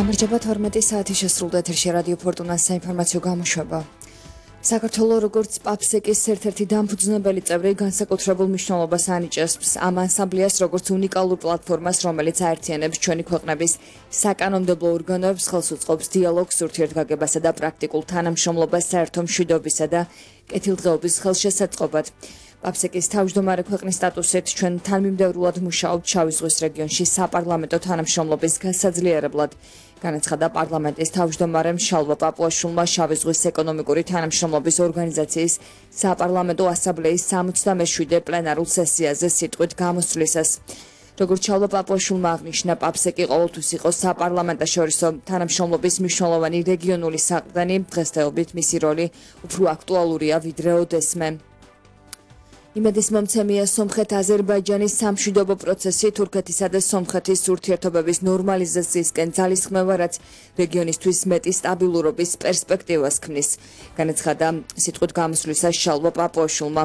გამარჯობა 12 საათი შესრულდა ეთერში რადიო ფორტუნას საინფორმაციო გამოშვება. საქართველოს როგორც პაფსეკის ერთ-ერთი დამფუძნებელი წევრი განსაკუთრებულ მნიშვნელობას ანიჭებს ამ ანსამბლეას როგორც უნიკალურ პლატფორმას, რომელიც აერთიანებს ჩვენი ქვეყნების საკანონმდებლო ორგანოებს, ხელს უწყობს დიალოგს, ურთიერთგაგებასა და პრაქტიკულ თანამშრომლობას საერთო მშვიდობისა და კეთილდღეობის ხელშესაწყობად. პაფსეკის თავმჯდომარე ქვეყნის სტატუსით ჩვენ თანმიმდევრულად მუშაობთ შავი ზღვის რეგიონში საპარლამენტო თანამშრომლობის გასაძლიერებლად. განაცხადა პარლამენტის თავმჯდომარემ შალვა პაპუაშვილმა შავი ზღვის ეკონომიკური თანამშრომლობის ორგანიზაციის საპარლამენტო ასამბლეის 67 პლენარულ სესიაზე სიტყვით გამოსვლისას. როგორც შალვა პაპუაშვილმა აღნიშნა, პაფსეკი ყოველთვის იყო საპარლამენტაშორისო თანამშრომლობის მნიშვნელოვანი რეგიონული საყრდენი, დღესდღეობით მისი როლი უფრო აქტუალურია ვიდრე ოდესმე. იმედის მომცემია სომხეთ-აზერბაიჯანის სამშვიდობო პროცესი თურქეთისა და სომხეთის ურთიერთობების ნორმალიზაციისკენ ძალისხმევა, რაც რეგიონისთვის მეტი სტაბილურობის პერსპექტივას ქმნის. განაცხადა სიტყვით გამოსვლისას შალვა პაპუაშვილმა.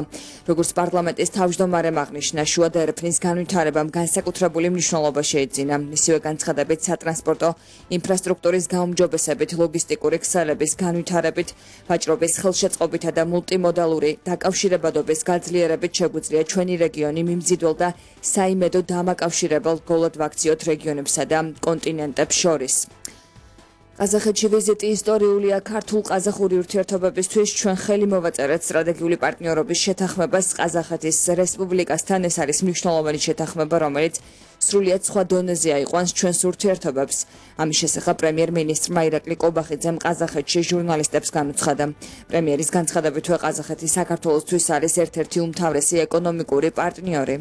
როგორც პარლამენტის თავმჯდომარემ აღნიშნა, შუა და ერეფნის განვითარებამ განსაკუთრებული მნიშვნელობა შეიძინა. მისივე განცხადებით, სატრანსპორტო ინფრასტრუქტურის გაუმჯობესებით, ლოგისტიკური ქსელების განვითარებით, ვაჭრობის ხელშეწყობითა და მულტიმოდალური დაკავშირებადობის გაძლიერებით შეგვიძლია ჩვენი რეგიონი მიმზიდველ და საიმედო დამაკავშირებელ გოლოდ ვაქციოთ რეგიონებსა და კონტინენტებს შორის. ყაზახეთში ვიზიტი ისტორიულია ქართულ-ყაზახური ურთიერთობებისთვის ჩვენ ხელი მოვაწერეთ სტრატეგიული პარტნიორობის შეთანხმებას ყაზახეთის რესპუბლიკასთან. ეს არის მნიშვნელოვანი შეთანხმება, რომელიც სრულიად სხვა დონეზე აიყვანს ჩვენს ურთიერთობებს. ამის შესახებ პრემიერ-მინისტრმა ირაკლი კობახიძემ ყაზახეთში ჟურნალისტებს განუცხადა. პრემიერის განცხადებით, ყაზახეთი საქართველოსთვის არის ერთ-ერთი უმთავრესი ეკონომიკური პარტნიორი.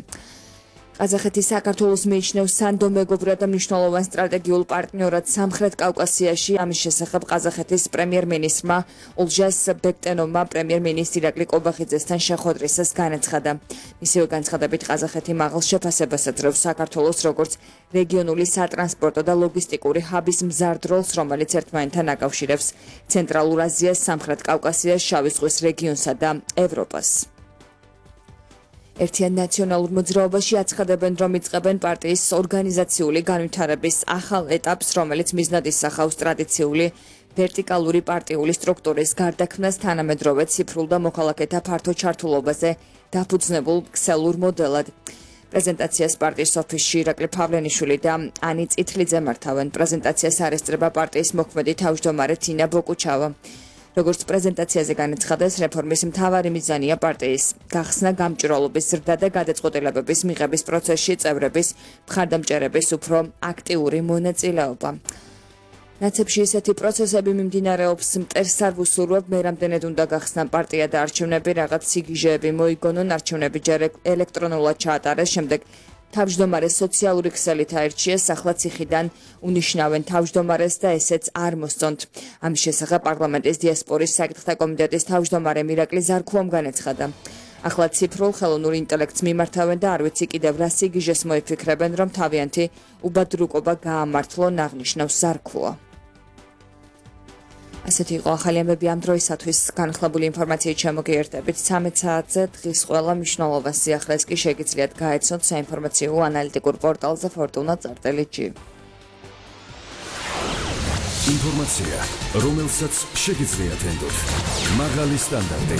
ყაზახეთი საქართველოს მიიჩნევს სანდო მეგობრად და მნიშვნელოვან სტრატეგიულ პარტნიორად სამხრეთ კავკასიაში. ამის შესახებ ყაზახეთის პრემიერ-მინისტრმა ოლჟას ბექტენოვმა პრემიერ-მინისტრ ირაკლი კობახიძესთან შეხვედრისას განაცხადა. მისივე განცხადებით, ყაზახეთი მაღალ შეფასებას აძლევს საქართველოს როგორც რეგიონული სატრანსპორტო და ლოგისტიკური ჰაბის მზარდ როლს, რომელიც ერთმანეთთან აკავშირებს ცენტრალურ აზიას, სამხრეთ კავკასიას, შავი ზღვის რეგიონსა და ევროპას. ერთიან ნაციონალურ მოძრაობაში აცხადებენ, რომ იწყებენ პარტიის ორგანიზაციული განვითარების ახალ ეტაპს, რომელიც მიზნად ისახავს ტრადიციული ვერტიკალური პარტიული სტრუქტურის გარდაქმნას, თანამედროვე ციფრულ და მოქალაქეთა ფართო ჩართულობაზე დაფუძნებულ ქსელურ მოდელად. პრეზენტაციას პარტიის ოფისში ირაკლი ფავლენიშვილი და ანი წითლიძე მართავენ. პრეზენტაციას არესწრება პარტიის მოქმედი თავმჯდომარე თინა ბოკუჩავა. როგორც პრეზენტაციაზე განაცხადეს, რეფორმის მთავარი მიზანია პარტიის გახსნა, გამჭვირვალობის ზრდა და გადაწყვეტილებების მიღების პროცესში წევრების მხარდამჭერების უფრო აქტიური მონაწილეობა. ნაცებში ისეთი პროცესები მიმდინარეობს მტერს არ ვუსურვებ, მე რამდენად უნდა გახსნა პარტია და არჩევნები, რაღაც სიგიჟეები მოიგონონ, არჩევნები ჯერ ელექტრონულად ჩაატარეს, შემდეგ თავმჯდომარე სოციალური ქსელით აირჩიეს, ახლა ციხიდან უნიშნავენ თავმჯდომარეს და ესეც არ მოსწონთ. ამის შესახებ პარლამენტის დიასპორის საკითხთა კომიტეტის თავმჯდომარე ირაკლი ზარქუამ განაცხადა. ახლა ციფრულ ხელოვნურ ინტელექტს მიმართავენ და არ ვიცი კიდევ რა სიგიჟეს მოიფიქრებენ, რომ თავიანთი უბადრუკობა გაამართლონ, აღნიშნავს ზარქუა. ასეთი იყო ახალი ამბები ამ დროისათვის. განხლებული ინფორმაციით შემოგიერთებით 13 საათზე. დღის ყველა მნიშვნელოვან სიახლეს კი შეგიძლიათ გაეცნოთ საინფორმაციო ანალიტიკურ პორტალზე fortuna.gr. ინფორმაცია, რომელსაც შეგიძლიათ ენდოთ. მაღალი სტანდარტი,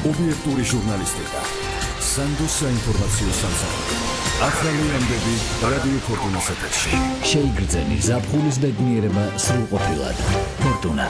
ობიექტური ჟურნალისტიკა, სანდო საინფორმაციო სამსახური. ახალი ამბები რადიო ფორტუნას ეთერში. შეიგრძენი ზაფხულის ბედნიერება სრულყოფილად. ფორტუნა.